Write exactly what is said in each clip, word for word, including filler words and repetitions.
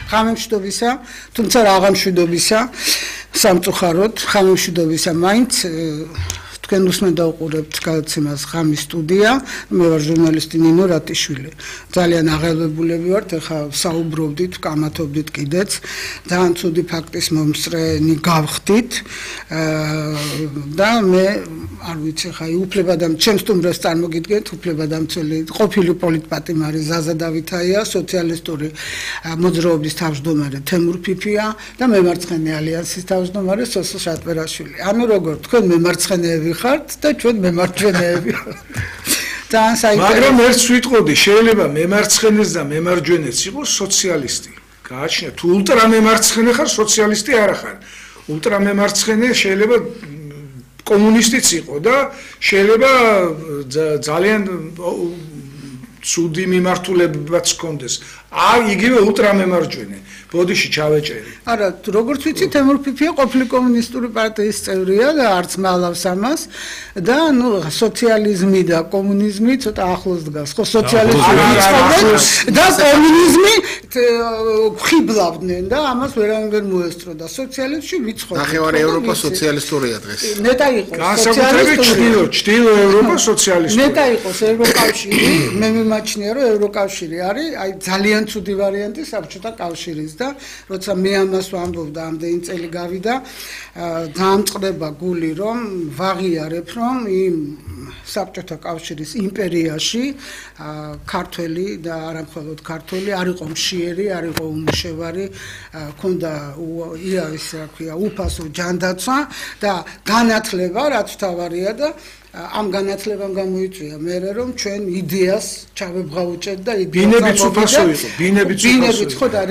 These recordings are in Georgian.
ღამემშვიდობისა, თუმცა რაღა მშვიდობისა, სამწუხაროდ ღამემშვიდობისა მაინც თქვენ უსმენთ და უყურებთ გადაცემას ღამის სტუდია, მე ვარ ჟურნალისტი ნინო რატიშვილი. ძალიან აღელვებულები ვართ, ეხლა საუბრობდით, ვკამათობდით კიდეც, ძალიან ცუდი ფაქტის მომსწრენი გავხდით და მე არ ვიცი, ხა უფლებადამ ჩემს სტუმრებს წარმოგიდგენთ, უფლებადამცველი ყოფილი პოლიტპატიმარი ზაზა დავითაია, სოციალისტური მოძრაობის თავმჯდომარე თემურ ფიფია და მემარცხენე ალიანსის თავმჯდომარე სოსო შატბერაშვილი. ანუ როგორ თქვენ მემარცხენეები ხართ და ჩვენ მემარჯვენეები. ძალიან საინტერესო. მაგრამ ერთს ვიტყოდი, შეიძლება მემარცხენეს და მემარჯვენეც იყოს სოციალისტი. გააჩნია, თუ ულტრამემარცხენე ხარ, სოციალისტი არ ხარ. ულტრამემარცხენე შეიძლება კომუნისტიც იყო და შეიძლება ძალიან ცუდი მიმართულებაც ჰქონდეს. აი, იგივე ულტრამემარჯვენე. ბოდიში ჩავეჭერი. არა, როგორც ვიცი, თემურ ფიფია ყოფილი კომუნისტური პარტიის წევრია და არც მალავს ამას და ნუ სოციალიზმი და კომუნიზმი ცოტა ახლოს დგას. ხო, სოციალიზმი და კომუნიზმი ხიბლავდნენ და ამას ვერავინ ვერ მოესწრო და სოციალიზმში ვიცხოვდნენ. ნახევარი ევროპა სოციალისტურია დღეს. ნეტა იყო განსაკუთრებით ჩრდილო, ჩრდილო ევროპა სოციალისტური. ნეტა იყოს ევროკავშირი, მე მიმაჩნია რომ ევროკავშირი არის, აი ძალიან ცუდი ვარიანტი საბჭოთა კავშირის და როცა მე ამას ვამბობ და ამდენი წელი გავიდა, დაამწყდება გული რომ ვაღიარებ რომ იმ საბჭოთა კავშირის იმპერიაში ქართველი და არა მხოლოდ ქართველი არ იყო მშიერი, არ იყო უმუშევარი, ქონდა იავის რა ქვია, უფასო ჯანდაცვა და განათლება, რაც თავარია და ამ განათლებამ გამოიწვია მერე რომ ჩვენ იდეას ჩავებღაუჭეთ და ბინებიც უფასო იყო, ბინებიც უფასო იყო. ხო და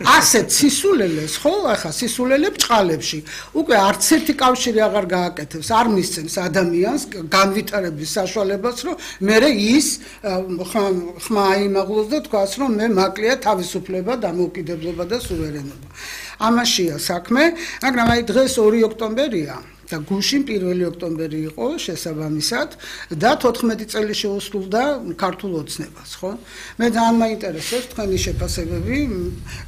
ასეთ სისულელეს, ხო, ახლა სისულელე ბჭყალებში. უკვე არც ერთი კავშირი აღარ გააკეთებს, არ მისცემს ადამიანს განვითარების საშუალებას, რომ მერე ის ხმა აიმაღლოს და თქვას, რომ მე მაკლია თავისუფლება, დამოუკიდებლობა და სუვერენობა. ამაშია საქმე, მაგრამ აი დღეს ორი ოქტომბერია. და გუშინ პირველი ოქტომბერი იყო შესაბამისად და თოთხმეტი წელი შეუსრულდა ქართულ ოცნებას, ხო? მე ძალიან მაინტერესებს თქვენი შეფასებები,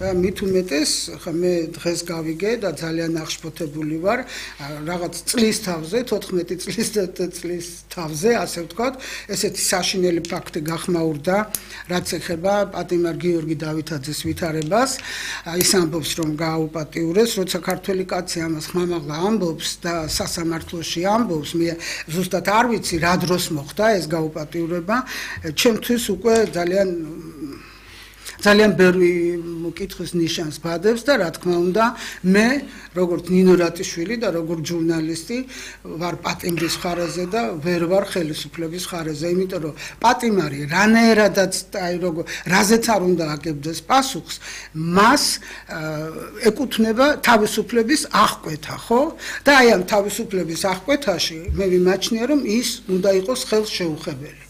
მით უმეტეს, ხა მე დღეს გავიგე და ძალიან აღშფოთებული ვარ რაღაც წლის თავზე, თოთხმეტი წლის წლის თავზე, ასე ვთქვათ, ესეთი საშინელი ფაქტი გახმაურდა, რაც ეხება პატიმარ გიორგი დავითაძეს ვითარებას. ის ამბობს, რომ გააუპატიურეს, როცა ქართველი კაცი ამას ხმამაღლა ამბობს და სასამართლოში ამბობს, მე ზუსტად არ ვიცი რა დროს მოხდა ეს გაუპატიურება, ჩემთვის უკვე ძალიან ძალიან ბევრი კითხვის ნიშანს ბადებს და რა თქმა უნდა მე როგორც ნინო რატიშვილი და როგორც ჟურნალისტი ვარ პატიმრის ხარაზე და ვერ ვარ ხელისუფლების ხარაზე, იმიტომ რომ პატიმარი რანაირადაც აი როგორ რაზეც არ უნდა აგებდეს პასუხს, მას ეკუთვნება თავისუფლების აღკვეთა, ხო? და აი ამ თავისუფლების აღკვეთაში მე ვიმაჩნია რომ ის უნდა იყოს ხელშეუხებელი.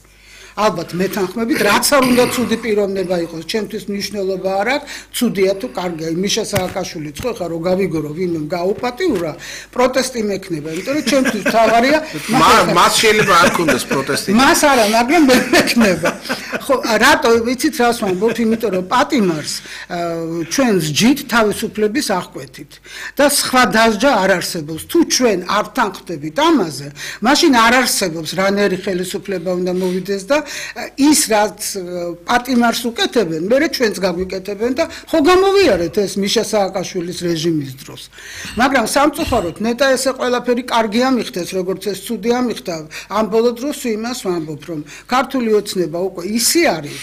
ალბათ მეთანხმებით, რაც არ უნდა ცუდი პიროვნება იყოს, ჩემთვის მნიშვნელობა არ აქვს, ცუდია თუ კარგია. მიშა სააკაშვილი ხო ხა რო გავიგორო, ვინმე გაუპატიურა, პროტესტი მექნება, იმიტომ რომ ჩემთვის თავარია, მას შეიძლება არ ქონდეს პროტესტი. მას არა, მაგრამ მე მექნება. ხო, რატო ვიცით რას ვამბობ, იმიტომ რომ პატიმარს ჩვენ სჯით თავისუფლების აღკვეთით და სხვა დასჯა არ არსებობს. თუ ჩვენ არ თანხმდებით ამაზე, მაშინ არ არსებობს რანაირი ხელისუფლება უნდა მოვიდეს და ის რაც პატიმარს უკეთებენ, მერე ჩვენც გაგვიკეთებენ და ხო გამოვიარეთ ეს მიშა სააკაშვილის რეჟიმის დროს. მაგრამ სამწუხაროდ ნეტა ესე ყველაფერი კარგი ამიხდეს, როგორც ეს ცუდი ამიხდა, ამ ბოლო დროს იმას ვამბობ, რომ ქართული ოცნება უკვე ისე არის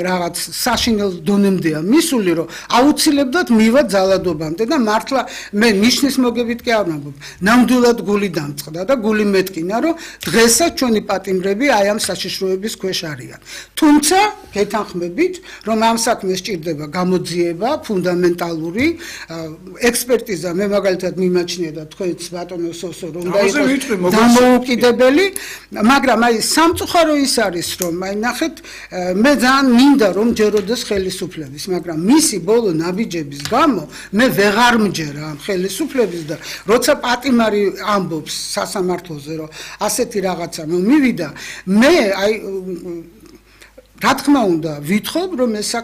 რაღაც საშინელ დონემდეა მისული, რომ აუცილებლად მივა ძალადობამდე და მართლა მე ნიშნის მოგებით კი არ ვამბობ. ნამდვილად გული დამწყდა და გული მეტკინა, რომ დღესაც ჩვენი პატიმრები აი ამ საშიშროების ქვეშ არიან. თუმცა გეთანხმებით, რომ ამ საქმეს სჭირდება გამოძიება, ფუნდამენტალური ექსპერტიზა, მე მაგალითად მიმაჩნია და თქვენც ბატონო სოსო რომ უნდა იყოს დამოუკიდებელი, მაგრამ აი სამწუხარო ის არის, რომ აი ნახეთ, მე ძალიან მინდა რომ ჯეროდეს ხელისუფლების, მაგრამ მისი ბოლო ნაბიჯების გამო მე ვეღარ მჯერა ამ ხელისუფლების და როცა პატიმარი ამბობს სასამართლოზე, რომ ასეთი რაღაცა მომივიდა, მე აი რა თქმა უნდა ვითხოვ რომ ეს